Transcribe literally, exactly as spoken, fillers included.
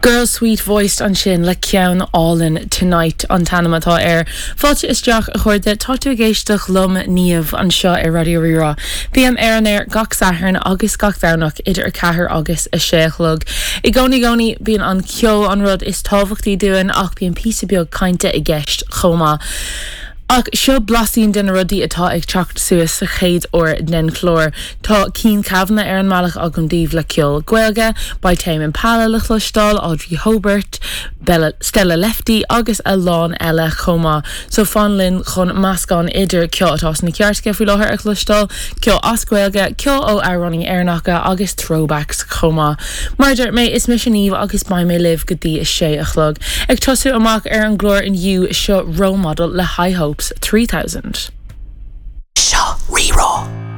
Girl Sweet Voiced ansin le ceann álainn Tonight an t-ainm atá air. Fáilte isteach a chairde tá tú ag éisteacht liom Niamh anseo ar Raidió Rí-Rá. Bím ar an aer gach Satharn agus gach Domhnach idir a ceathair agus a sé a chlog. I gcónaí gcónaí bíonn an ceol an rud is tábhachtaí dúinn ach bíonn píosa beag cainte i gceist chomh maith. Ach seo blaisín de na rudaí atá ag teacht suas sa chéad uair den chlár. Tá Cian Kavanagh ar an mbealach agam daoibh le ceol Gaeilge, beidh Tame Impala le cloisteáil Audrey Hobert, Bella Stella Lefty agus a lán eile chomh maith. So fan linn chun meascán idir ceol atá sna cairteacha faoi láthair a chloisteáil, ceol as Gaeilge, ceol ó amhránaithe Éireannacha agus throwbacks chomh maith. Mar a dúirt mé is mise Niamh agus beidh mé libh go dtí a sé a chlog. Ag tosú amach ar an gclár inniu seo Role Model le High Hopes three thousand. Seo Rí-Rá.